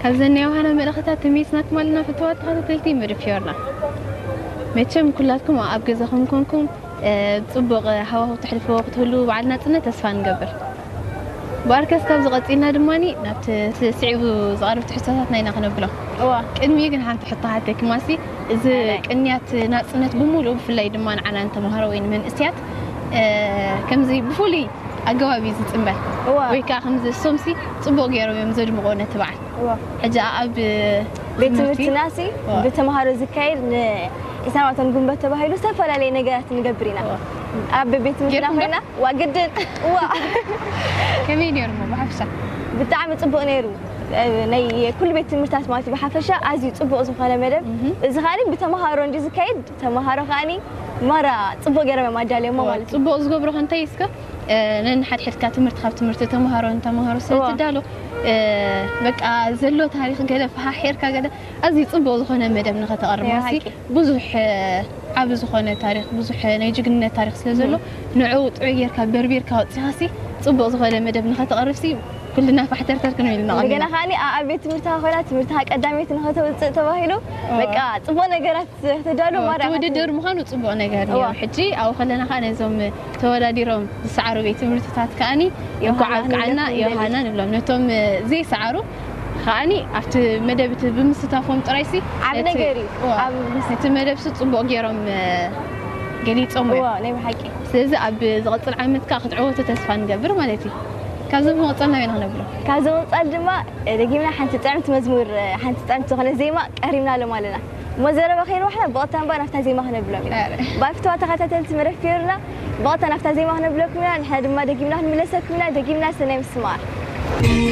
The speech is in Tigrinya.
ካብዘን ናይ ዮሃና መልእኽትታት ተመይስናኩም ኣለና ፍትዋት ተኸታተልቲ መደብ ፊዮርና። መቸም ኩላትኩም ኣብ ገዛኹም ኮንኩም፣ እ፣ ጽቡቕ ሃዋህው ተሕልፍዎ ክትህሉ በዓል ናጽነት ተስፋ ንገብር። ብኣርከስ ካብዚ ቀጺልና ድማኒ ናብቲ ስ-፣ ስዒቡ ዝቐርብ ትሕዝቶታትና ኢና ክነብሎ። እዋ። ቅድሚኡ ግን ሓንቲ ሕቶ ሓተኪ ማሲ፣ እዚ ኣይ። ቅንያት ናጽነት ብምሉኡ ብፍላይ ድማ ንዓና ንተምሃሮ ወይ ንመንእስያት፣ እ፣ ከምዚ ብፍሉይ ኣገባብ እዩ ዝጽንበል። እዋ። ወይ ከዓ ከምዚ ሶምሲ ጽቡቕ ገይሮም እዮም ዘድምቑ ነቲ በዓል። እዋ። ሕጂ ኣብ ቤት ትምህርቲ ትምህርትና ሲ እዋ። ብተምሃሮ ዝካየድ ንዒስራን ኣርባዕተን ግንቦት ተባሂሉ ዝተፈላለየ ነገራት ንገብር ኢና። እዋ። ኣብ ቤት ትምህርትና ጌርኩም ዶ? ኮይና ዋ ግድን እዋ። ከመይ ነይሩ እሞ ብሓፈሻ? ብጣዕሚ ጽቡቕ ነይሩ። እ፣ ናይ ኩሉ ቤት ትምህርታት ማለት እዩ ብሓፈሻ ኣዝዩ ጽቡቕ ዝኾነ መደብ። እህ። እዚ ኻሊ ብተምሃሮ እንዲ ዝካየድ ተምሃሮ ኻኒ ማራ ጽቡቕ ገይሮም እዮም ኣዳልዮሞ እዋ፣ ማለት እዩ። ጽቡቕ ዝገብሮ ከንታይ እስከ፣ እ፣ ነንሓድሕድካ ትምህርቲ ካብ ትምህርቲ ተምሃሮ ንተምሃሮ ስለ እዋ። ትዳሎ፣ እ፣ በቃ ዘሎ ታሪኽ ገለ ፈሓሒርካ ገለ ኣዝዩ ጽቡቕ ዝኾነ መደብ ንኸተቐርብ እያ፣ ማሲ ሓቂ። ብዙሕ፣ እ፣ ዓቢ ዝኾነ ታሪኽ፣ ብዙሕ ናይ ጅግንነት ታሪኽ ስለ ዘሎ፣ እም። ንዕኡ ጥዑይ ጌርካ በርቢርካ ኣውጺኻሲ ጽቡቕ ዝኾነ መደብ ንኸተቐርብሲ ኩልና ፋሕተርተር ክንብል ኢና እንደገና ቀኒና። ኻኒ ኣብ ቤት ትምህርትኻ ኮይና ትምህርትኻ ቀዳመይቲ ንኸተውጽእ ተባሂሉ እዋ። በቃ ጽቡቕ ነገራት ተዳሎ እዋ፣ ማራ ትውድድር ምዃኑ ጽቡቕ ነገር እዩ። እዋ። ሕጂ ኣብኡ ከለና ኸኣ ነዞም ተወዳዲሮም ዝሰዓሩ ቤት ትምህርትታት ከኣኒ ዮሃና እንኳዕ ኣብቅዓና ክንብለኩም ዮሃና ንደሊ። ንብሎም። ነቶም፣ እ፣ ዘይሰዓሩ ከኣኒ ኣብቲ መደብ እቲ ብምስታፎም ጥራይሲ ዓቢ ነቲ ነገር እዩ። እዋ፣ ኣብ ምስ ነቲ መደብሲ ጽቡቕ ገይሮም፣ እ፣ ገሊጾም እዮም። እዋ፣ ናይ ብሓቂ። ስለዚ ኣብ ዝቕጽል ዓመት ከኣ ክትዕወቱ ተስፋ ንገብር ማለት እዩ። ካብዚ ብምቕጻል ናበይ ኢና ክነብሎ? ካብዚ ብምቕጻል ድማ፣ እ፣ ደጊምና ሓንቲ ጥዕምቲ መዝሙር፣ እ፣ ሓንቲ ጥዕምቲ ዝኾነ ዜማ ቀሪብናሎም ኣለና። እሞ ዘረባ ከይንዋሕና ብቐጥታ እምባ ናብታ ዜማ ክነብሎም ኢና። ኣረ። ባይ ፍትዋ ተኸታተልቲ መደብ ፊዮርና፣ ብቐጥታ ናብታ ዜማ ክነብለኩም ኢና። ንሕና ድማ ደጊምና ክንምለሰኩም ኢና። ደጊምና ሰናይ ምስማዕ።